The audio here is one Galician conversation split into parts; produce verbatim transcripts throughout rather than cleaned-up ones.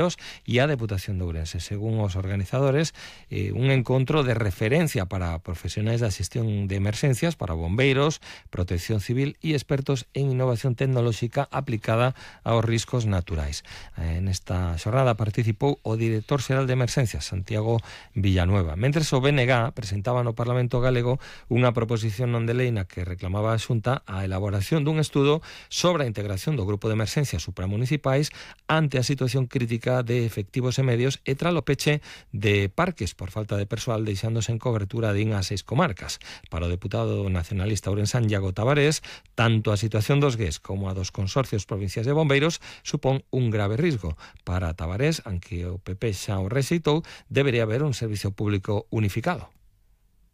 e a Deputación de Ourense. Según os organizadores, eh, un encontro de referencia para profesionais da xestión de emerxencias, para bombeiros, protección civil e expertos en innovación tecnolóxica aplicada aos riscos naturais. Eh, nesta xornada participou o director xeral de emerxencias, Santiago Villanueva. Mentres o B N G presentaba no Parlamento Galego unha proposición non de lei na que reclamaba a Xunta a elaboración dun estudo sobre a integración do grupo de emerxencias supramunicipais ante a situación crítica de efectivos e medios e tras o peche de parques por falta de persoal deixándose en cobertura din as seis comarcas. Para o deputado nacionalista ourensán Iago Tavares, tanto a situación dos G E S como a dos consorcios provinciais de bombeiros supón un grave risco. Para Tavares, aunque o P P xa o rexeitou, debería haber un servicio público unificado.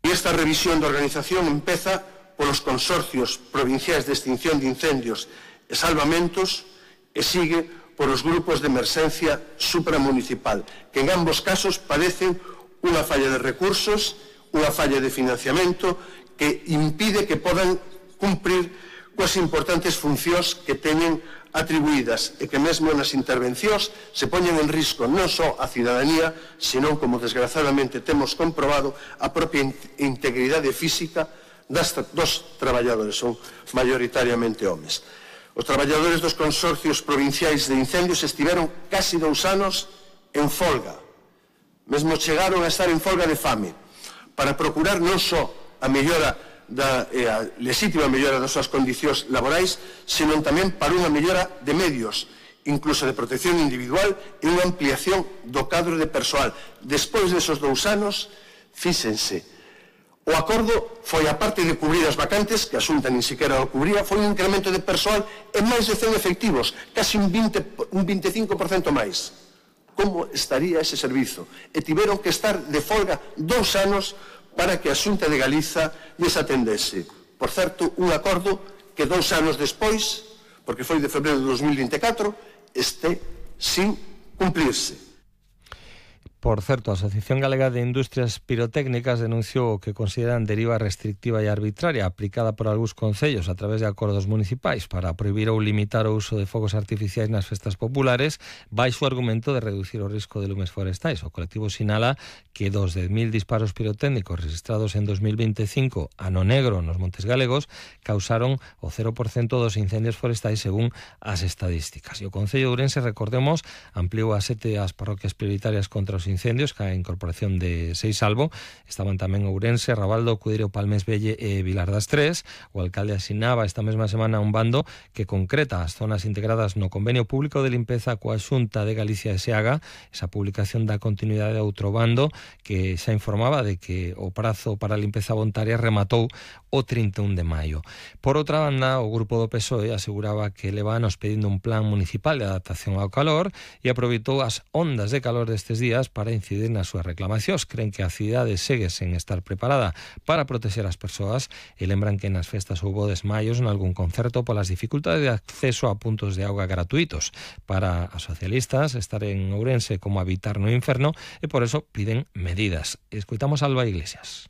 E esta revisión de organización empeza polos consorcios provinciais de extinción de incendios e salvamentos e sigue por os grupos de emerxencia supramunicipal, que en ambos casos padecen unha falla de recursos, unha falla de financiamento que impide que podan cumprir coas importantes funcións que teñen atribuídas e que mesmo nas intervencións se poñen en risco non só a cidadanía, senón, como desgraciadamente temos comprobado, a propia integridade física das, dos traballadores, son maioritariamente homes. Os traballadores dos consorcios provinciais de incendios estiveron casi dous anos en folga. Mesmo chegaron a estar en folga de fame para procurar non só a mellora da eh, a lexítima mellora das súas condicións laborais, senón tamén para unha mellora de medios, incluso de protección individual e unha ampliación do cadro de persoal. Despois desos dous anos, fíxense, o acordo foi, a parte de cubrir as vacantes, que a Xunta nin siquiera o cubría, foi un incremento de persoal en máis de cen efectivos, casi un, veinte, un veinticinco por cento máis. Como estaría ese servizo? E tiveron que estar de folga dous anos para que a Xunta de Galiza lles atendese. Por certo, un acordo que dous anos despois, porque foi de febreiro de dos mil vinte e catro, este sin cumplirse. Por certo, a Asociación Galega de Industrias Pirotécnicas denunciou o que consideran deriva restrictiva e arbitraria aplicada por algúns concellos a través de acordos municipais para prohibir ou limitar o uso de fogos artificiais nas festas populares baixo o argumento de reducir o risco de lumes forestais. O colectivo sinala que dos dez mil disparos pirotécnicos registrados en dos mil veinticinco ano negro nos Montes Galegos causaron o cero por cento dos incendios forestais según as estadísticas. E o Concello de Ourense, recordemos, ampliou a sete as parroquias prioritarias contra os incendios, que a incorporación de Seisalvo. Estaban tamén Ourense, Rabaldo, Cudeiro, Palmes Velle e Vilar das Tres. O alcalde asinaba esta mesma semana un bando que concreta as zonas integradas no convenio público de limpeza coa Xunta de Galicia e Seaga. Esa publicación dá continuidade a outro bando que xa informaba de que o prazo para a limpeza voluntaria rematou o trinta e un de maio. Por outra banda, o grupo do P S O E aseguraba que leva anos pedindo un plan municipal de adaptación ao calor e aproveitou as ondas de calor destes días para incidir nas súas reclamacións. Creen que a cidade segue sen estar preparada para proteger as persoas e lembran que nas festas houbo desmaios en algún concerto polas dificultades de acceso a puntos de auga gratuitos. Para as socialistas, estar en Ourense como habitar no inferno e por eso piden medidas. Escoitamos a Alba Iglesias.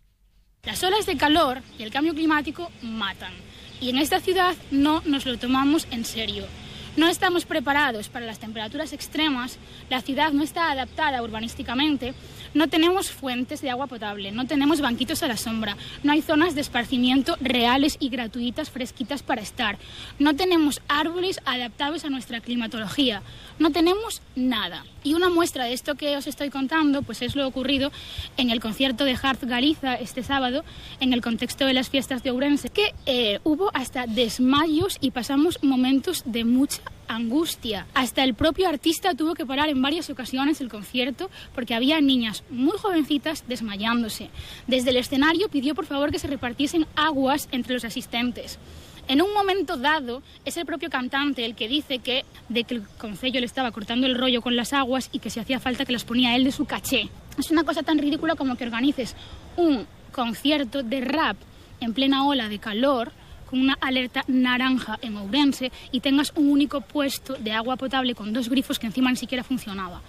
Las olas de calor y el cambio climático matan y en esta ciudad no nos lo tomamos en serio. No estamos preparados para las temperaturas extremas, la ciudad no está adaptada urbanísticamente, no tenemos fuentes de agua potable, no tenemos banquitos a la sombra, no hay zonas de esparcimiento reales y gratuitas fresquitas para estar, no tenemos árboles adaptados a nuestra climatología, no tenemos nada. Y una muestra de esto que os estoy contando pues es lo ocurrido en el concierto de Harz Galiza este sábado, en el contexto de las fiestas de Ourense, que eh, hubo hasta desmayos y pasamos momentos de mucha angustia. Hasta el propio artista tuvo que parar en varias ocasiones el concierto porque había niñas muy jovencitas desmayándose. Desde el escenario pidió por favor que se repartiesen aguas entre los asistentes. En un momento dado, es el propio cantante el que dice que de que el concello le estaba cortando el rollo con las aguas y que si hacía falta que las ponía él de su caché. Es una cosa tan ridícula como que organices un concierto de rap en plena ola de calor con una alerta naranja en Ourense y tengas un único puesto de agua potable con dos grifos que encima ni siquiera funcionaba.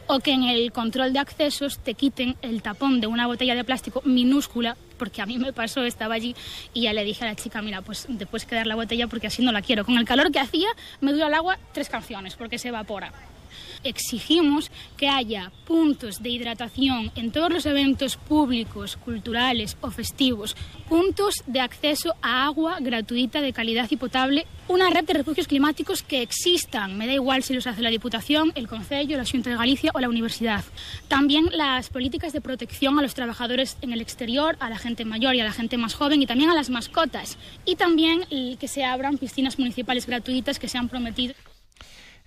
O que en el control de accesos te quiten el tapón de una botella de plástico minúscula, porque a mí me pasó, estaba allí y ya le dije a la chica, mira, pues te puedes quedar la botella porque así no la quiero. Con el calor que hacía me dura el agua tres canciones porque se evapora. Exigimos que haya puntos de hidratación en todos los eventos públicos, culturales o festivos, puntos de acceso a agua gratuita de calidad y potable, una red de refugios climáticos que existan, me da igual si los hace la Diputación, el Concello, la Xunta de Galicia o la Universidad. También las políticas de protección a los trabajadores en el exterior, a la gente mayor y a la gente más joven y también a las mascotas. Y también que se abran piscinas municipales gratuitas que se han prometido.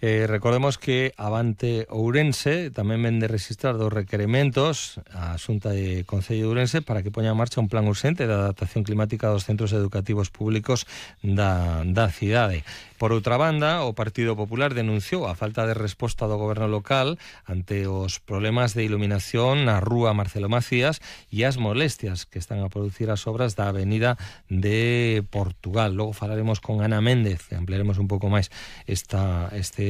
Eh, recordemos que Avante Ourense tamén vende registrar dos requerimentos á Xunta de Concello de Ourense para que poña en marcha un plan urxente de adaptación climática dos centros educativos públicos da, da cidade. Por outra banda, o Partido Popular denunciou a falta de resposta do goberno local ante os problemas de iluminación na rúa Marcelo Macías e as molestias que están a producir as obras da Avenida de Portugal. Logo falaremos con Ana Méndez, ampliaremos un pouco máis esta, este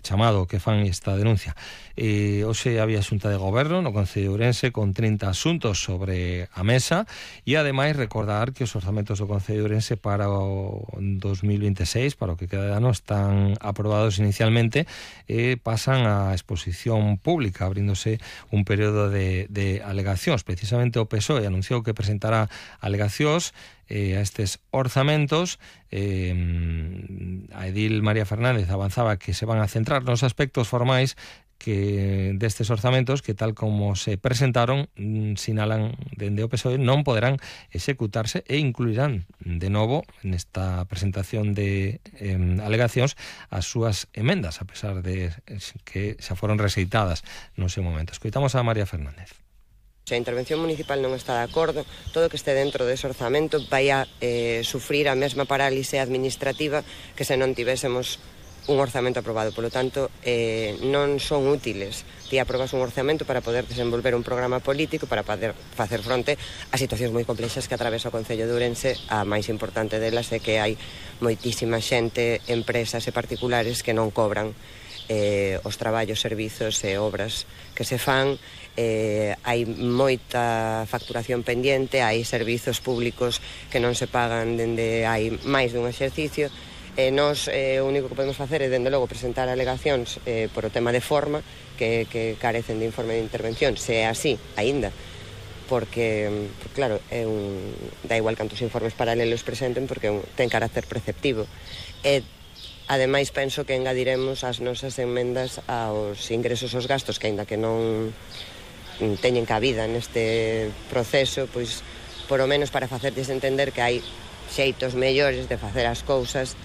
chamado que fan esta denuncia. Eh, hoxe había xunta de goberno no Concello de Ourense con trinta asuntos sobre a mesa e ademais recordar que os orzamentos do Concello de Ourense para o dos mil veintiséis, para o que queda de ano, están aprobados inicialmente e pasan á exposición pública, abríndose un período de, de alegacións. Precisamente o P S O E anunciou que presentará alegacións eh, a estes orzamentos. Eh, a edil María Fernández avanzaba que se van a centrar nos aspectos formais que destes orzamentos que tal como se presentaron sinalan dende o P S O E non poderán executarse e incluirán de novo nesta presentación de eh, alegacións as súas emendas, a pesar de que xa foron rexeitadas no seu momento. Escoitamos a María Fernández. Se a intervención municipal non está de acordo, todo que este dentro dese orzamento vai a eh, sufrir a mesma parálise administrativa que se non tivésemos un orzamento aprobado. Polo tanto, eh, non son útiles. Ti aprobas un orzamento para poder desenvolver un programa político para poder facer fronte a situacións moi complexas que atravesa o Concello de Ourense. A máis importante delas é que hai moitísima xente, empresas e particulares que non cobran eh, os traballos, servizos e obras que se fan. Eh, hai moita facturación pendiente, hai servizos públicos que non se pagan dende hai máis dun exercicio. E nós eh, o único que podemos facer é, dende logo, presentar alegacións eh, por o tema de forma que, que carecen de informe de intervención, se é así, aínda, porque, claro, é un, da igual cantos informes paralelos presenten, porque un, ten carácter preceptivo. E, ademais, penso que engadiremos as nosas enmendas aos ingresos aos gastos, que aínda que non teñen cabida neste proceso, pois, por o menos para facerles entender que hai xeitos mellores de facer as cousas.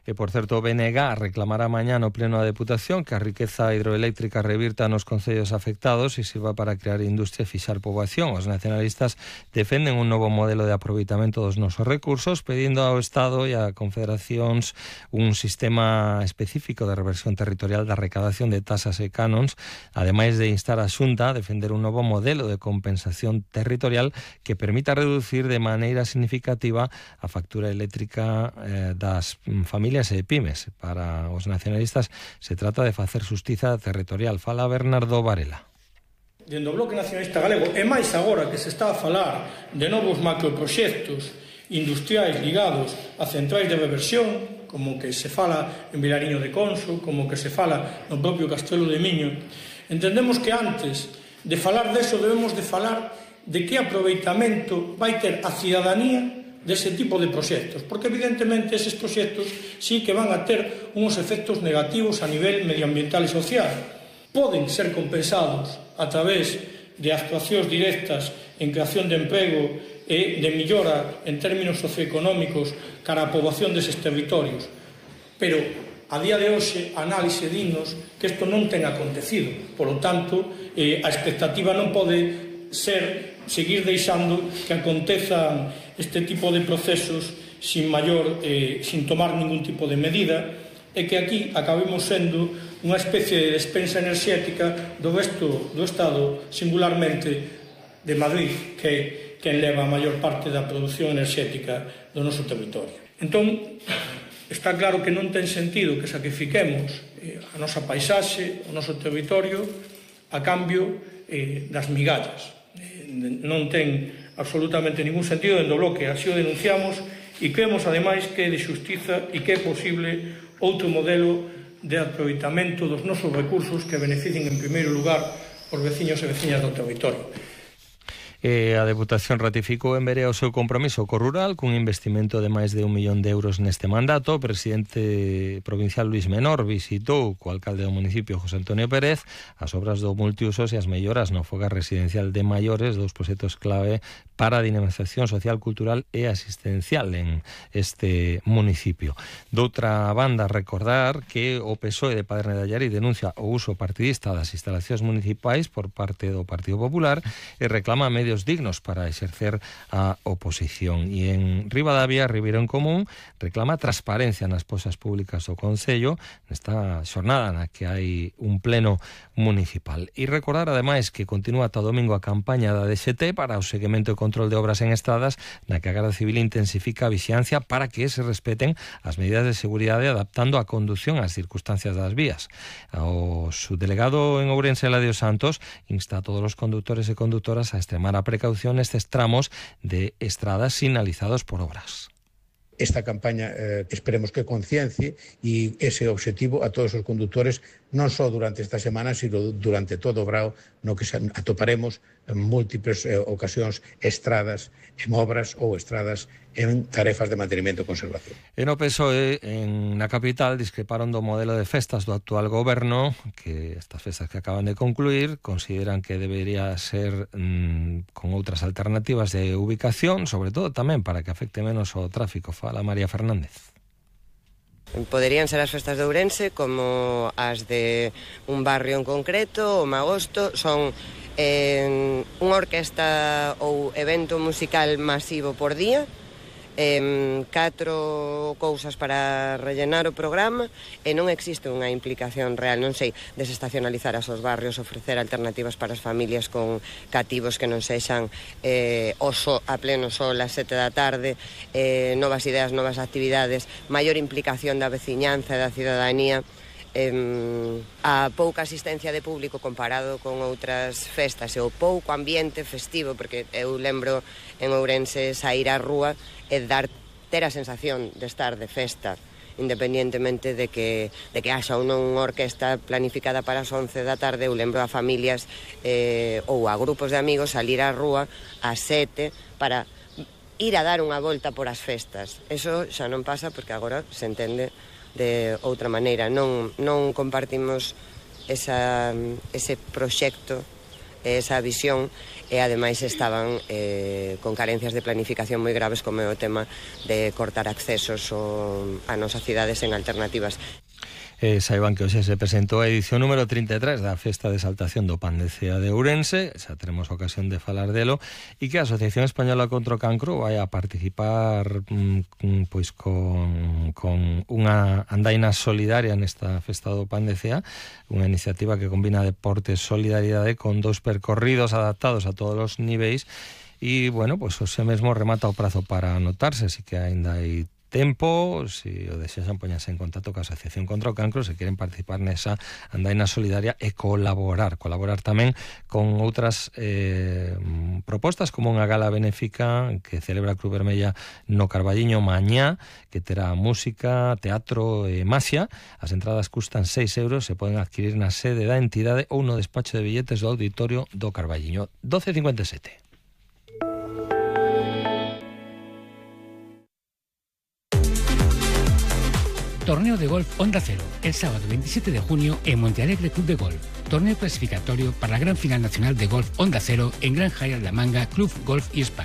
E, por certo, o B N G reclamará mañá no Pleno da Deputación que a riqueza hidroeléctrica revirta nos concellos afectados e sirva para crear industria e fixar poboación. Os nacionalistas defenden un novo modelo de aproveitamento dos nosos recursos, pedindo ao Estado e a confederacións un sistema específico de reversión territorial da recadación de tasas e canons, ademais de instar a Xunta a defender un novo modelo de compensación territorial que permita reducir de maneira significativa a factura eléctrica eh, das familias e pymes. Para os nacionalistas se trata de facer xustiza territorial. Fala Bernardo Varela. Dende o Bloque Nacionalista Galego, e máis agora que se está a falar de novos macroproxectos industriais ligados a centrais de reversión, como que se fala en Vilariño de Conso, como que se fala no propio Castelo de Miño, entendemos que antes de falar deso debemos de falar de que aproveitamento vai ter a cidadanía dese tipo de proxectos, porque evidentemente eses proxectos sí que van a ter uns efectos negativos a nivel medioambiental e social. Poden ser compensados a través de actuacións directas en creación de emprego e de millora en términos socioeconómicos cara a poboación deses territorios, pero a día de hoxe a análise dinos que isto non ten acontecido. Por lo tanto, eh, a expectativa non pode ser seguir deixando que acontezan este tipo de procesos sin maior, eh, sin tomar ningún tipo de medida, e que aquí acabemos sendo unha especie de despensa enerxética do resto do Estado, singularmente de Madrid, que é quen leva a maior parte da produción enerxética do noso territorio. Entón, está claro que non ten sentido que sacrifiquemos eh, a nosa paisaxe, o noso territorio, a cambio eh, das migallas. Non ten absolutamente ningún sentido. Dende o Bloque así o denunciamos e creemos ademais que é de xustiza e que é posible outro modelo de aproveitamento dos nosos recursos que beneficien en primeiro lugar os veciños e veciñas do territorio. E a Deputación ratificou en Verea o seu compromiso co rural cun investimento de máis de un millón de euros neste mandato. O presidente provincial Luis Menor visitou co alcalde do municipio José Antonio Pérez as obras do multiusos e as melloras no fogar residencial de maiores, dous proxectos clave para a dinamización social, cultural e asistencial en este municipio. Doutra banda, recordar que o P S O E de Paderne de Allariz denuncia o uso partidista das instalacións municipais por parte do Partido Popular e reclama medios dignos para exercer a oposición. E en Ribadavia, Ribeiro en Común reclama transparencia nas posas públicas do Concello nesta xornada na que hai un pleno municipal. E recordar, ademais, que continúa ata domingo a campaña da D X T para o seguimento e control de obras en estradas, na que a Garda Civil intensifica a vixiancia para que se respeten as medidas de seguridade adaptando a condución ás circunstancias das vías. O subdelegado en Ourense, Eladio Santos, insta a todos os conductores e conductoras a extremar a precaución nestes tramos de estradas sinalizados por obras. Esta campaña eh, esperemos que conciencie e ese objetivo a todos os conductores non só durante esta semana, sino durante todo o brao no que atoparemos en múltiples eh, ocasións estradas en obras ou estradas en tarefas de mantenimento e conservación. E no P S O E, en na capital, discreparon do modelo de festas do actual goberno, que estas festas que acaban de concluir consideran que debería ser mmm, con outras alternativas de ubicación, sobre todo tamén para que afecte menos o tráfico. Fala María Fernández. Poderían ser as festas de Ourense como as de un barrio en concreto, o Magosto, son eh, unha orquesta ou evento musical masivo por día, eh, catro cousas para rellenar o programa e non existe unha implicación real, non sei, desestacionalizar as os barrios, ofrecer alternativas para as familias con cativos que non sexan eh, o so, a pleno sol ás sete da tarde, eh, novas ideas, novas actividades, maior implicación da veciñanza e da cidadanía. Eh, a pouca asistencia de público comparado con outras festas e o pouco ambiente festivo, porque eu lembro en Ourense sair á rúa e dar, ter a sensación de estar de festa, independientemente de que, de que haxa ou non unha orquesta planificada para as once da tarde. Eu lembro a familias eh, ou a grupos de amigos salir á rúa ás sete para ir a dar unha volta por as festas. Eso xa non pasa porque agora se entende de outra maneira. Non, non compartimos esa, ese proxecto, esa visión, e ademais estaban eh, con carencias de planificación moi graves, como é o tema de cortar accesos o, a nosas cidades en alternativas. Eh, saiban que hoxe se presentou a edición número trinta e tres da Festa de Exaltación do Pan de Cea de Ourense, xa teremos ocasión de falar delo, e que a Asociación Española contra o Cancro vai a participar mm, pois con, con unha andaina solidaria nesta Festa do Pan de Cea, unha iniciativa que combina deportes, solidaridade con dous percorridos adaptados a todos os niveis, e, bueno, pois hoxe mesmo remata o prazo para anotarse, así que aínda hai tempo, se o desexan poñarse en contacto coa Asociación contra o Cancro se queren participar nesa andaina solidaria e colaborar, colaborar tamén con outras eh, propostas, como unha gala benéfica que celebra a Cruz Vermella no Carballiño mañá, que terá música, teatro e magia. As entradas custan seis euros, se poden adquirir na sede da entidade ou no despacho de billetes do auditorio do Carballiño. doce cincuenta e sete. Torneo de golf Onda Cero, el sábado veintisiete de junio en Montealegre Club de Golf. Torneo clasificatorio para la gran final nacional de golf Onda Cero en Gran Hyatt La Manga Club Golf y Spa.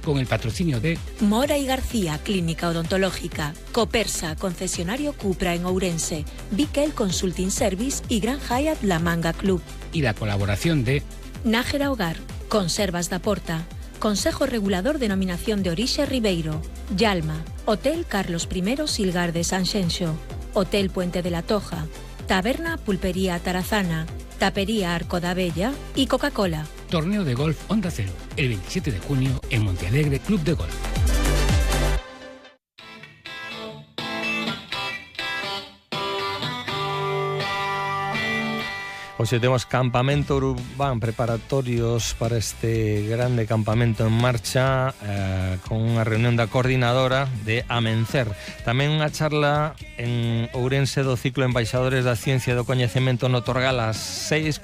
Con el patrocinio de Mora y García, Clínica Odontológica, Copersa, concesionario Cupra en Ourense, Bikel Consulting Service y Gran Hyatt La Manga Club. Y la colaboración de Nájera Hogar, Conservas da Porta, Consejo Regulador Denominación de Orixe Ribeiro, Yalma, Hotel Carlos I Silgar de Sanxenxo, Hotel Puente de la Toja, Taberna Pulpería Tarazana, Tapería Arco da Bella y Coca-Cola. Torneo de golf Onda Cero, el veintisiete de junio en Montealegre Club de Golf. Hoxe temos campamento urbán, preparatorios para este grande campamento en marcha, eh, con unha reunión da coordinadora de Amencer. Tamén unha charla en Ourense do ciclo Embaixadores da Ciencia e do Coñecemento no Torgal ás seis,